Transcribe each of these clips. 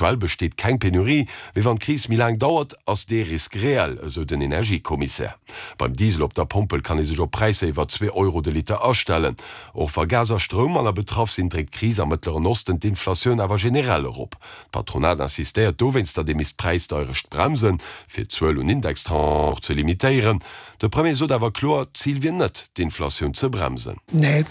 Aktuell besteet keng Penurie, mee wann d'Kris méi laang dauert, ass dee Risk reell, esou den Energiekommissär. Beim Diesel op der Pompel kann ee sech op Präisser iwwer zwee Euro de Liter astellen. Och wa Gas a Stroum manner betraff sinn, dréckt d'Kris am Mëttleren Osten d'Inflatioun awer generell erop. D'Patronat insistéiert dowéinst, datt ee misst d'Präisdeierecht bremsen, fir d'Zuel un Indextranchen och ze limitéieren. De Premier sot awer kloer, d'Zil wier net, d'Inflatioun ze bremsen. Nee.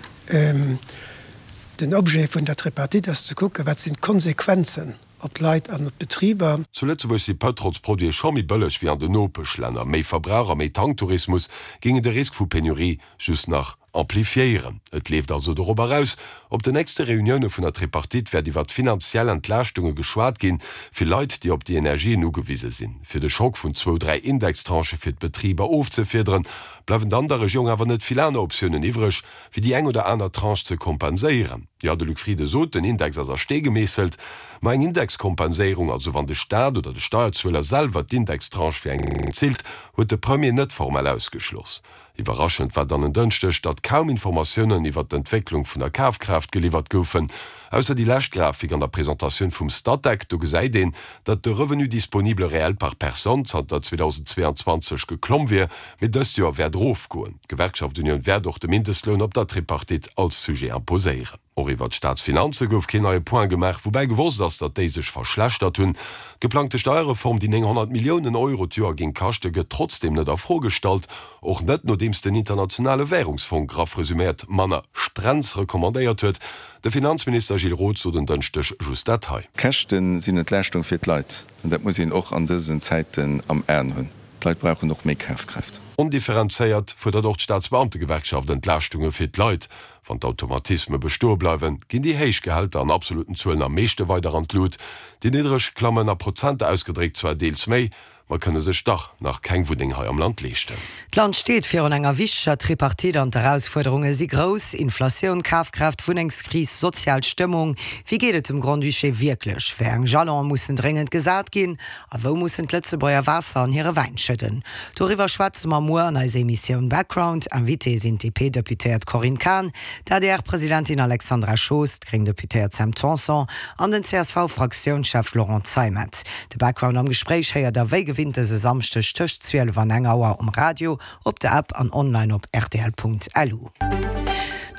Den Objet vun der Tripartite ass ze kucken, wat sinn d'Konsequenzen op d'Leit an op d'Betriber. Zu Lëtzebuerg si Pëtrolsproduite scho méi bëlleg wéi an den Nopeschlänner. Méi Verbrauch a méi Tanktourismus géingen de Risk vu Penurie just nach amplifiéieren. Et leeft also dorop eraus, Op den nächste Reunioune vun der Tripartite wäert iwwert finanziell Entlaaschtunge geschwat ginn, fir Leit, déi op déi Energien ugewise sinn. Fir de Schock vun zwou, dräi Indextranchë fir d'Betriber ofzefiederen, bleiwen dann der Regierung awer net vill aner Optiounen iwwreg, fir déi eng oder aner Tranche ze kompenséieren. Jo, de Luc Frieden sot, den Index ass a Stee gemeesselt. Ma eng Indexkompenséierung, also wann de Staat oder de Steierzueler selwer d'Indextranche fir eng zilt, huet de Premier net formell ausgeschloss. Iwwerraschend war dann en Dënschdeg, datt kaum Informatiounen iwwer d'Entwécklung vun der Kafkraaft geliwwert goufen. Ausser déi lescht Grafik an der Presentatioun vum Statec, do gesäit een, datt de Revenu disponible réel par personne zanter 2022 geklomm wier, mee dëst Joer wäert erofgoen. D'Gewerkschaft Unioun wäert och de Mindestloun op der Tripartite als Sujet imposéieren. Och iwwer d'Staatsfinanze gouf keen neie Point gemaach, woubäi gewosst ass, datt déi sech verschlechtert hunn. D'geplangte Steierreform, déi 900 Milliounen Euro d'Joer géing kaschten, gëtt trotzdeem net a Fro gestallt. Och net, nodeems den Internationale Wärungsfong, graff resuméiert, manner Strenz recommandéiert huet. De Finanzminister Gilles Roth sot en Dënschdeg just dat hei. D'Käschte sinn Entlaaschtung fir d'Leit, an dat muss een och an dësen Zäiten am Aen hunn. D'Leit brauchen och méi Kafkraaft. Ondifferenzéiert fuerdert och d'Staatsbeamtegewerkschaft Entlaaschtunge fir d'Leit. Wann d'Automatisme bestoe bleiwen, ginn déi héich Gehälter an absoluten Zuelen am meeschte weider an d'Lut. Déi niddreg klammen a Prozenter ausgedréckt zwar deels méi, ma kënne sech dach nach keng Wunneng hei am Land leeschten. D'Land steet virun enger wichteger Tripartite an d'Erausfuerderunge si grouss, Inflatioun, Kafkraaft, Wunnengskris, sozial Stëmmung. Wéi geet et dem Grand-Duché wierklech? Wéi eng Jalone mussen dréngend gesat ginn? A wou mussen d'Lëtzebuerger Waasser an hire Wäin schëdden? Doriwwer schwätze mer muer an eiser Emissioun Background. Invitée sinn d'DP-Deputéiert Corinne Cahen, d'ADR-Presidentin Alexandra Schoos, d'gréng Deputéiert Sam Tanson an den CSV-Fraktiounschef Laurent Zeimet. De Background am Gespréich héiert der wéi gewinnt dëse Samschdeg tëscht 12 an eng Auer um Radio, Op der App an online op rtl.lu.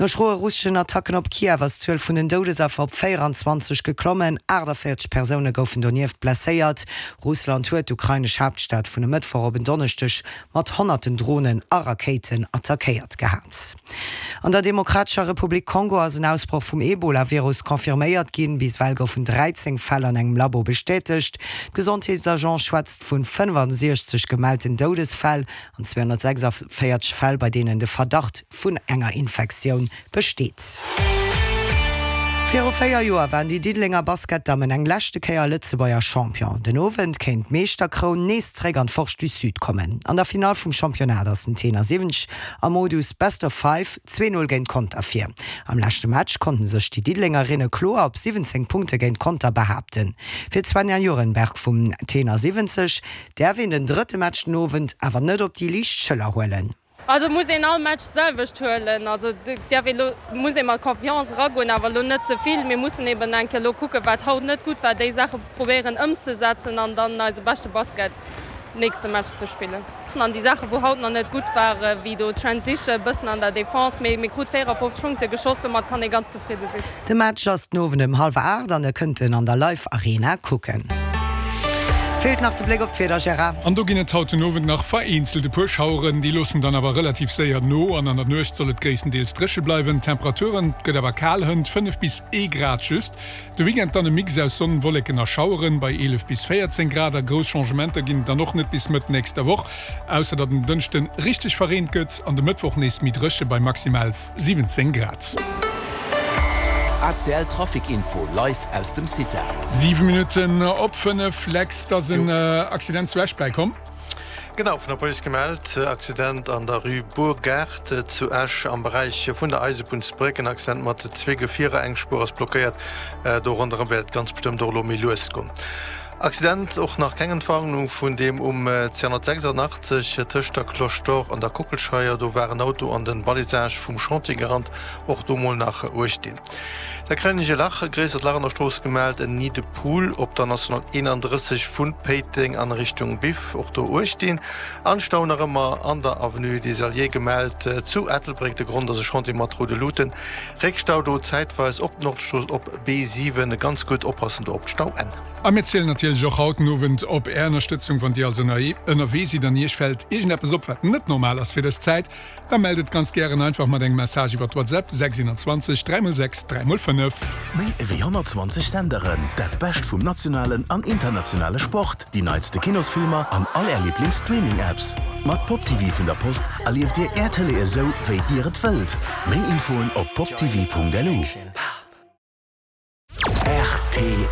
No schroe russeschen Attacken op Kiew ass d'Zuel vun den Doudesaffer op 24 geklommen. 48 Persoune goufen donieft blesséiert. Russland huet d'ukrainesch Haaptstad vun e Mëttwoch op en Donneschdeg mat honnerten Dronen a Rakéiten attackéiert gehat. An der Demokratescher Republik Kongo ass en Ausbroch vum Ebola-Virus confirméiert ginn. Bis ewell goufen 13 Fäll an engem Labo bestätegt. D'Gesondheetsagence schwätzt vun 65 gemellten Doudesfäll an 246 Fäll, bei deenen de Verdacht vun enger Infektioun besteet. Viru 4 Joer waren déi Diddelenger Basketdammen eng leschte Kéier Lëtzebuerger Champion. Den Owend kéint d'Meeschterkroun nees zeréck an d'Forge du Sud kommen. An der Finall vum Championnat ass den Tenor 70 am Modus Best of Five 2, 0 géint Conter vir. Am leschte Match konnten sech déi Diddelengerinne kloer op 17 Punkte géint Conter behaapten. Fir d'Svenja Jurenberg vum Tenor 70 Däerf een den drëtte Match den Owend awer net op déi liicht Schëller huelen. Also muss een all Match d'selwecht huelen. Also däerf ee lo, muss ee mat Confiance eragoen, awer lo net ze vill. Mir mussen eben eng Kéier lo kucken, wat haut net gutt war, déi Saache probéieren ëmzesetzen an dann eise beschte Basket nächste Match ze spillen. An déi Saache wou haut nach net gutt waren, wéi do d'Transition, e bëssen an der Defense, mee mir krut 54 Punkte geschoss, domat kann ee ganz zefridde sinn. De Match ass den Owend ëm hallwer 8 an e kënnt en an der Live Arena kucken. Feelt nach de Bléck op d'Wieder, Gérard. An do ginn et haut den Owend nach vereenzelt e puer Schaueren, déi loossen dann awer relativ séier no an an der Nuecht soll et gréisstendeels dréche bleiwen. D'Temperaturen, et gëtt awer kal, hënt 5 bis ee Grad just. De Weekend dann e Mix aus Sonn, Wolleken a Schaueren bei 11 bis 14 Grad a grouss Changementer ginn et dann och net bis Mëtt nächster Woch, ausser datt en Dënschden richteg verreent gëtt an de Mëttwoch nees méi dréche bei maximal 17 Grad. ACL Trafic Info live aus dem CITA. 7 Minutten op 5, Lex, et ass en Accident zu Esch bäikomm. Genau, vun der Police gemellt, Accident an der Rue Bourgaart zu Esch am Beräich vun der Eisebunnsbréck. En Accident mat zwee Gefierer, eng Spuer ass blockéiert. Do ronderëm wäert et ganz bestëmmt och elo méi lues goen. Accident, och nach keng Entwarnung vun deem um 286 tëscht der Cloche d'Or an der Kockelscheier. Do war en Auto an den Balisage vum Chantier gerannt, och do mol nach uecht dinn. Da kréien ech e Lach, e gréissert Lach an der Strooss gemellt, en Nid de poule op der National 31 vu Péiteng an Richtung Biff, och do uecht dinn. An Stau nach ëmmer an der Avenue des Alliés gemellt zu Ettelbréck, de Grond ass e Chantier mat roude Luuten. Réckstau do zäitweis op d'Nordstrooss op B7, ganz gutt oppassen do op d'Stauenn. A mir zielen natierlech och haut den Owend op Är Ënnerstëtzung. Wann Dir also ënnerwee sidd an Iech fält iergendeppes op, wat net normal ass fir dës Zäit, Da mellt et ganz gären einfach mat engem Message iwwer WhatsApp 621 3 x 6 3 x 5. Méi ewéi 120 Senderen, dat Bescht vum nationalen an internationale Sport, déi neitste Kinosfilmer an all Är Liiblings-Streaming-Apps. Mat Pop TV vun der Post erlieft Dir Är Tëlee esou, wéi Dir et wëllt. Méi Infoen op poptv.lu. Rtl.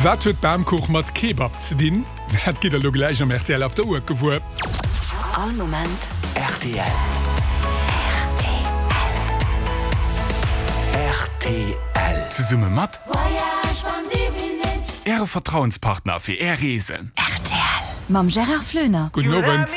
Wat huet Bamkuch mat Kebab ze dinn? Dat gitt der lo gläich am rtl After Work gewuer. All Moment rtl. Rtl. Zesumme mat Äre Vertrauenspartner fir Är Reesen. Rtl mam Gérard Floener. Gudden Owend.